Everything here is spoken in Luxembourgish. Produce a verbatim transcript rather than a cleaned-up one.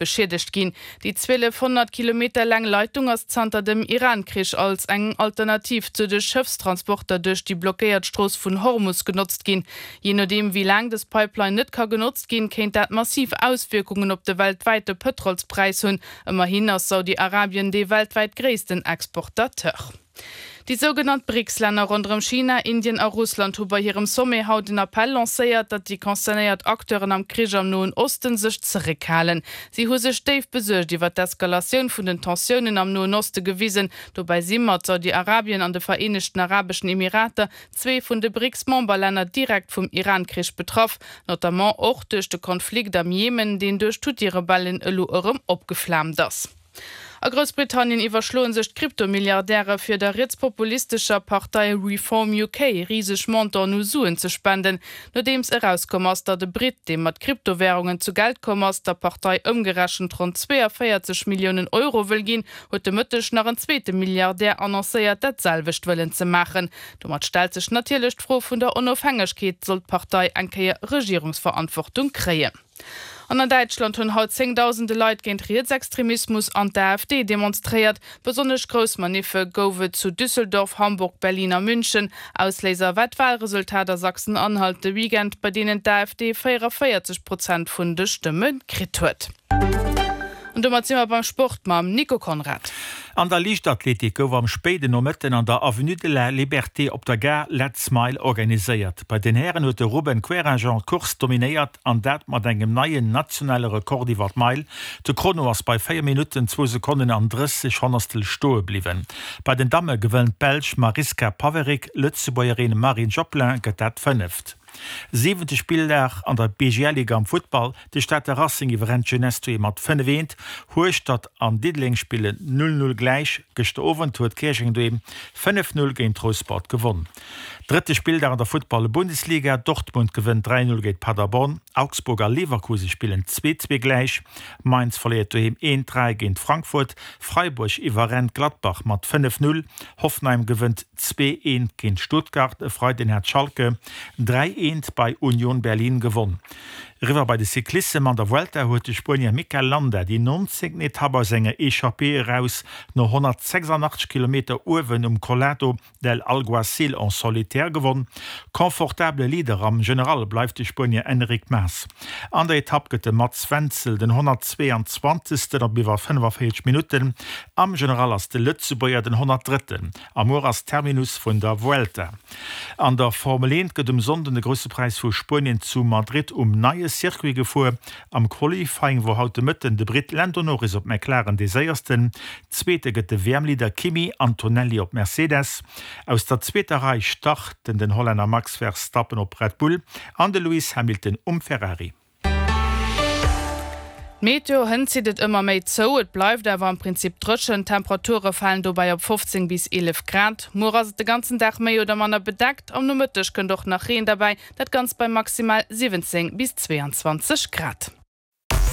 beschiedegt ginn. Déi zwielefhonnert Kilometer laang Leitung ass zanter dem Iran-Krich als eng Alternativ zu de Schëffstransporter duerch déi blockéiert Strooss vun Hormus genotzt ginn. Jee nodeem wéi laang dës Pipeline net ka genotzt ginn, kéint dat massiv Auswierkungen op de weltwäite Pëtrolspräis hunn. Ëmmerhin ass Saudi-Arabien dee weltwäit gréissten Exportateur. Déi sougenannt BRICS-Länner ronderëm China, Indien a Russland hu bei hirem Sommet haut en Appell lancéiert, datt déi concernéiert Acteuren am Krich am Noen Osten sech zeréckhalen. Si hu sech déif besuergt iwwer d'Eskalatioun vun den Tensiounen am Noen Oste gewisen. Dobäi si mat Saudi-Arabien an de Vereenegten Arabeschen Emirater zwee vun de BRICS-Memberlänner direkt vum Iran-Krich betraff, notamment och duerch de Konflikt am Jemen, deen duerch d'Huthi-Rebellen elo erëm opgeflaamt ass. A Groussbritannien iwwerschloe sech d'Krypto-Milliardäre fir der rietspopulistescher Partei Reform U K riseg Montanten u Suen ze spenden. Nodeems erauskomm ass, datt e Britt, dee mat Kryptowärungen zu Geld komm ass, der Partei ëmgerechent ronn zweeënvéierzeg Milliounen Euro wëll ginn, huet de Mëtteg nach en zweete Milliardär annoncéiert, dat selwecht wëllen ze maachen. Domat stellt sech natierlech d'Fro vun der Onofhängegkeet, sollt d'Partei eng Kéier Regierungsverantwortung kréien. An an Däitschland hunn haut zéngdausende Leit géint Rietsextremismus an d'A F D demonstréiert. Besonnesch grouss Maniffe gouf et zu Düsseldorf, Hamburg, Berlin a München. Ausléiser war d'Walresultat a Sachsen-Anhalt de Weekend, bei deenen d'A F D véierunvéierzeg Prozent vun de Stëmme kritt huet. An domat si mer beim Sport mam Nico Conrad. An der Liichtathletik gouf am spéiden Nomëtten an der Avenue de la Liberté op der Gare Let's Mile organiséiert. Bei den Hären huet de Ruben Querinjean d'Course dominéiert an dat mat engem neien nationale Rekord iwwer d'Meil. De Chrono ass bei véier Minutten, zwou Sekonnen an drësseg Honnertstel stoe bliwwen. Bei den Damme gewënnt d'Belsch Mariska Paverick, d'Lëtzebuergerin Marine Joplin gëtt dat Fënneft. Siwente Spilldag an der B G L-Liga am Futtball, De Stater Racing iwwerrennt d'Jeunesse doheem mat fënnef eent. Hueschtert an Diddeleng spillen null null gläich. Gëschter Owend huet Käerjeng doheem fënnef null géint Rouspert gewonn. Drëtte Spilldag an der Futtball-Bundesliga, Dortmund gewënnt dräi null géint Paderborn. Augsburg a Leverkusen spillen zwee zwee gläich. Mainz verléiert doheem eent dräi géint Frankfurt. Freiburg iwwerrennt Gladbach mat fënnef null. Hoffenheim gewënnt zwee eent géint Stuttgart. E Freiden hat Schalke dräi eent bei Union Berlin gewonn. Eriwwer bei de Cyclissem, An der Vuelta huet de Spuenier Mikel Landa déi nonzéngten Etapp aus enger Echappée eraus no honnertsechsandachtzeg Kilometer uewen um Collado del Alguacil en solitaire gewonn. Confortabele Leader am General bleift de Spuenier Enric Mas. An der Etapp gëtt de Mats Wenzel den honnertzweeanzwanzegsten op iwwer fënnefavéierzeg Minutten. Am General ass de Lëtzebuerger den honnertdrëtten. A muer ass Terminus vun der Vuelta. An der Formel eent gëtt um Sonnden de Grousse Präis vu Spuenien zu Madrid um neie Circuit gefuer. Am Qualifying wor haut de Mëtten de Britt Lando Norris op McLaren dee Séiersten. Zweete gëtt de W M-Leader Kimi Antonelli op Mercedes. Aus der zweeter Rei starten den Hollänner Max Verstappen op Red Bull an de Lewis Hamilton um Ferrari. D'Meteo, Hënt zitt et ëmmer méi zou, et bleift awer am Prinzip dréchen. D'Temperature falen dobäi op fofzéng bis eelef Grad. Muer ass et de ganzen Dag méi oder manner bedeckt, am Nomëtteg kënnt och nach Reen derbäi, dat Ganzt bei maximal siwwenzéng bis zweeanzwanzeg Grad.